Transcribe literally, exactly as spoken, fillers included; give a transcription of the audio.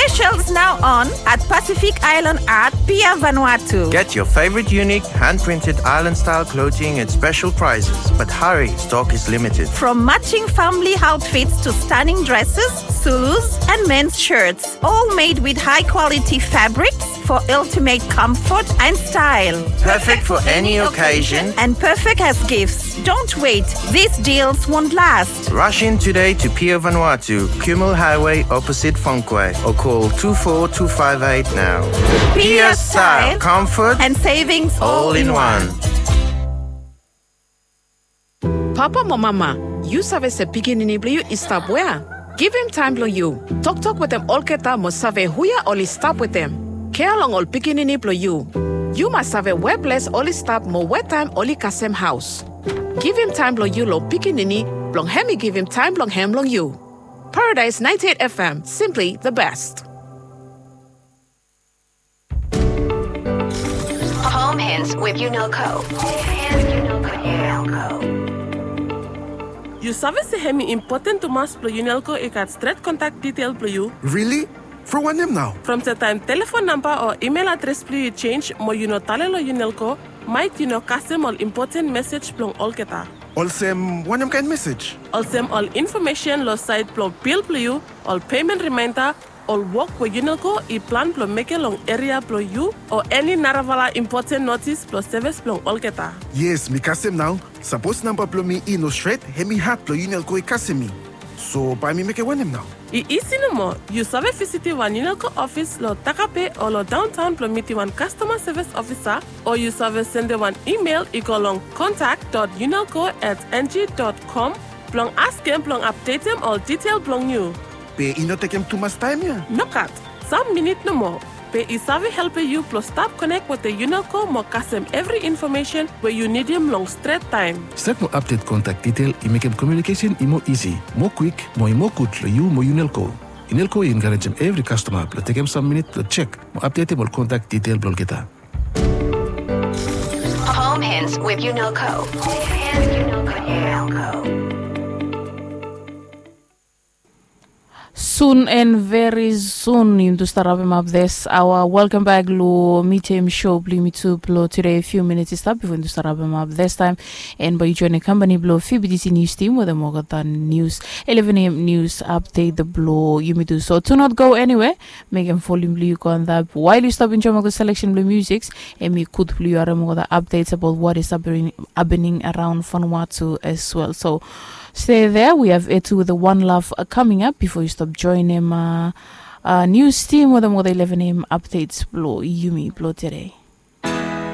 Specials now on at Pacific Island Art, Pier Vanuatu. Get your favorite unique hand-printed island-style clothing at special prices. But hurry, stock is limited. From matching family outfits to stunning dresses, Zulus, and men's shirts, all made with high-quality fabrics for ultimate comfort and style. Perfect for any occasion. And perfect as gifts. Don't wait. These deals won't last. Rush in today to Pier Vanuatu, Kumul Highway, opposite Fongkway, or call two four two five eight now. Pier style, comfort, and savings all in one. Papa mo mama, yu save se pikinini blong yu i stap wea? Givim taem blong yu. Toktok wetem olgeta mo save huje oli stap wetem. Kea long ol pikinini blong yu. Yu mas save we ples oli stap mo we taem oli kasem haos. Givim taem blong yu long pikinini blong hem i givim taem blong hem long yu. Paradise ninety-eight F M, simply the best. Home Hints with Unelco. Yu save se hem i impoten tumas blong Unelco i gat stret kontak detail blong yu? Really? From wanem nao? From se taem telefon namba o email adres blong yu i jenis mo yu no tale long Unelco, maet yu no kasem ol impoten mesej blong olgeta. Olsem wanem kaen mesej? Olsem ol infomesen long saed blong bil blong yu, ol pemen rimaenda, ol wok we Unelco i plan blong mekem long eria blong yu, o eni narafala impoten notis blong sevis blong olgeta. Yes, mi kasem nao. Sapos namba blong mi i no stret, hem i had blong Unelco i kasem mi. So bae mi mekem wanem nao? I isi nomo. Yu save visitim wan Unelco ofis long Takape o long daontaon blong mitim wan kastoma sevis ofisa, o yu save sendem wan email i go long contact dot unelco at ng dot com blong askem blong apdetem ol detail blong yu. Be i no tekem tumas taem ya? Nogat, sam minit nomo. Be i save helpem yu blong stap konek wetem Unelco mo kasem evri infomesen we yu nidim long stret taem. Stat mo apdet kontak detail i mekem komiunikesen i moa isi, moa kwik, mo i moa gud long yu mo Unelco. Unelco i enkarejem evri kastoma blong tekem sam minit blong jek mo apdetem ol kontak detail blong olgeta. Home Hints with Unelco. Sun and very soon yumi tu stap rapem ap this hour. Welcome back lo Meet Him Show blo yumi tu blo today. Few minutes i stap before yumi tu stap rapem ap this time. And bae yu join the company blo F B T C News Team wetem olgeta news, eleven A M news update blo yumi tu. So do not go anywhere. Mekem volume blo yu go antap while yu stap enjoem olgeta selection blo music. Hemi gud blo yu harem olgeta updates about what is happening, happening around Vanuatu as well. So stay there. We have Etu with the One Love, uh, coming up before yu stap joenem, uh, uh, news team wetem olgeta eleven A M updates blo yumi blo today.